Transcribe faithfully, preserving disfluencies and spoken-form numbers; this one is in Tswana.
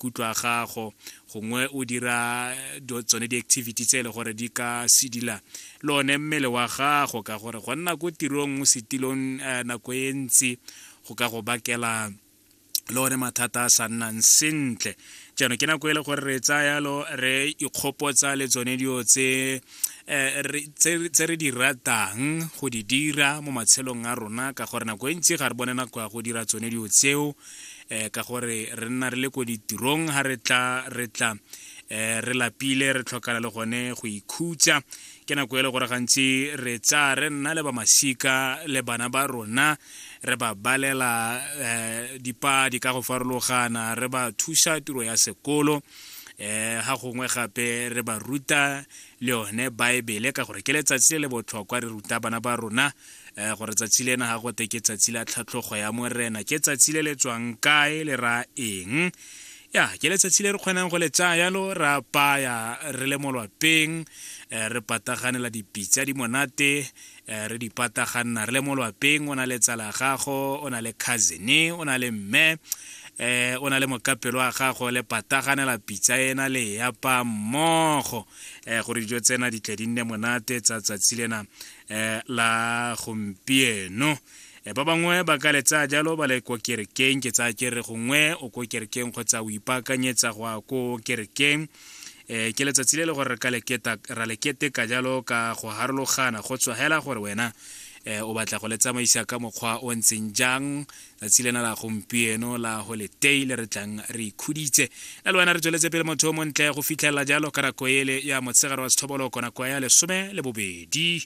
Maikutlo a gago, gongwe o dira tsone di-activity tse e le gore di ka sedila le one mmele wa gago, ka gore go nna ko tirong mo setilong nako e ntsi go ka go bakela le one mathata a sa nnang sentle. Jaanong ke nako e le gore re tsaya yalo re ikgopotsa le tsone dilo tse tse re di ratang go di dira mo matshelong a rona, ka gore nako e ntsi ga re bone nako ya go dira tsone dilo tseo, um ka gore re nna re le ko ditirong. Ga re tla re tla um re lapile, re tlhokana le gone go ikhutsa. Ke nako e le gore gantsi re tsaya re nna le ba masika le bana ba rona, re ba balela um dipadi ka go farologana, re ba thusa tiro ya sekolo, um ga gongwe gape re ba ruta le yone Baebele, ka gore ke letsatsi le le botlhokwa. Re ruta bana ba rona um gore tsatsi lena ga gote ke tsatsi la tlhatlhogo ya Morena, ke tsatsi le le tswang kae, le ra eng. Ya, ke letsatsi le re kgonang go le tsaya yalo re apaya re le mo lwapeng, re pataganela dipitsa di monate, re di pataganna re le mo lwapeng. O na le tsala gago, o na le cousin, o na le mme, um o na le mokapelo wa gago, le pataganela pitsa ena le e apaya mmogo, um gore dijo tsena di tle di nne monate tsa tsatsi lena um la gompieno. Ba bangwe ba ka le tsaya jalo ba le ko kerekeng. Ke tsaya ke re gongwe o ko kerekeng kgotsa o ipaakanyetsa go ya ko kerekeng. um ke letsatsi le le gore re ka leketa ra le keteka jalo ka go harologana, go tswa hela gore wena um o batla go le tsamaisa ka mokgwa o ntseng jang tsatsi lena la gompieno la holiday le re tlang re ikhuditse le wena. Re tsweletse pele, motho o montle, go fitlhelela jalo ka nako ele ya motshegare wa sethoboloko, nako ya lesome le bobedi.